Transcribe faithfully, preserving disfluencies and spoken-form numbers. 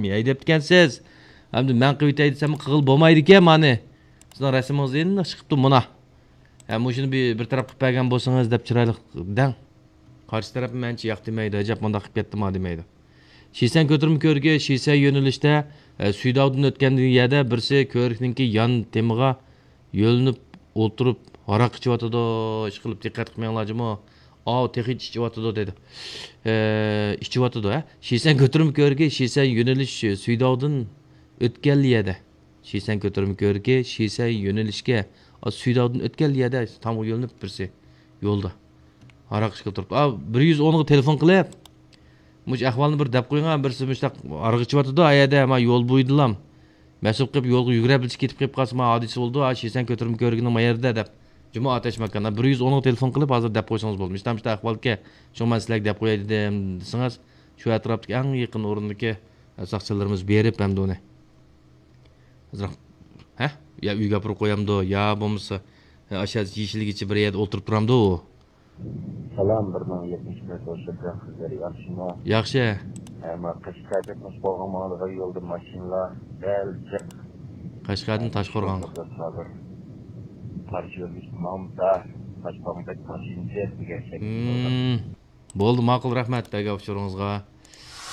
ھەيدەپتىكەنسىز. ئەمدى مەن قىلىۋېتەي دېسەم قىغىل بولمايدىكەن مانى. سىزنىڭ رەسىمىڭىز ئېنىق چىقىپتۇ مانا. ھە، مۇشۇنى بىر، بىر تەرەپ قىلىپ بەرگەن بولسىڭىز دەپ چىرايلىق دەڭ. قارشى تەرەپ مەنچە ياق دېمەيدۇ، ئەجەب مۇنداق قىلىپ كەتتىما دېمەيدۇ. شىسەن كۆتۈرمە كۆۋرۈكى، شىسەن يۆنىلىشتە، ئە، سۈيداۋدىن ئۆتكەندىن يەردە بىرسى كۆۋرۈكنىڭكى يان تېمىغا يۆلىنىپ ئولتۇرۇپ ھاراق ئىچىۋاتىدۇ، ئىشقىلىپ دىققەت قىلمايڭلار جۇمۇ. ئاۋۇ تېخىچە ئىچىۋاتىدۇ دېدى. ئە، ئىچىۋاتىدۇ، ھە. شىسەن كۆتۈرمە كۆۋرۈكى، شىسەن يۆنىلىش سۈيداۋدىن ئۆتكەنلا يەردە. شىسەن كۆتۈرمە كۆۋرۈكى، شىسەن يۆنىلىشكە، ئا، سۈيداۋدىن ئۆتكەنلا يەردە تامغا يۆلىنىپ بىرسى يولدا. ھاراق ئىچكىلى تۇرۇپتۇ. ئا، بىر يۈز ئونغا تېلېفون قىلىپ، مۇشۇ ئەھۋالنى بىر دەپ قويۇڭ، بىرسى مۇشۇنداق ھاراق ئىچىۋاتىدۇ، ئا يەردە، ما يول بويىدىلام. مەسۇپ قىلىپ يولغا يۈگۈرۈپ كېتىپ قېلىپ قالسا، ما ھادىسە بولىدۇ، ئا، شىسەن كۆتۈرمە كۆۋرۈكىنىڭ ما يېرىدە دەپ. جۇمۇ ئاتەش ماكان. بىر يۈز ئونغا تېلېفون قىلىپ، ھازىر دەپ قويسىڭىز بولىدۇ. مۇشۇنداق، مۇشۇنداق ئەھۋالكەن، شۇڭا مەن سىلەرگە دەپ قوياي دېدىم دېسىڭىز، شۇ ئەتراپتىكى ئەڭ يېقىن ئورۇندىكى ساقچىلىرىمىز بېرىپ ئەمدى ئۇنى. ئازراق، ھە؟ يا ئۆيگە ئاپىرىپ قويامدۇ، يا بولمىسا، ئاشۇ يېشىلگىچە بىر يەردە ئولتۇرۇپ تۇرامدۇ ئۇ؟ سالام، بىر مىڭ يەتمىش بىر توشۇرجان قىزلىرى ياخشىمۇ؟ ياخشى. ئەمما قەشقەردىن تاشقورغان ماڭىدىغان يولدا ماشىنىلار دەل جىق. قەشقەردىن تاشقورغان. ھازىر قارشى يۆنىلىشتە ماڭمىسا، تاشقورغان بەك ماشىنا جىق دېگەن شەكىل. ھىم. بولدى، ماقۇل، رەھمەت بەرگەن ئۇچۇرىڭىزغا.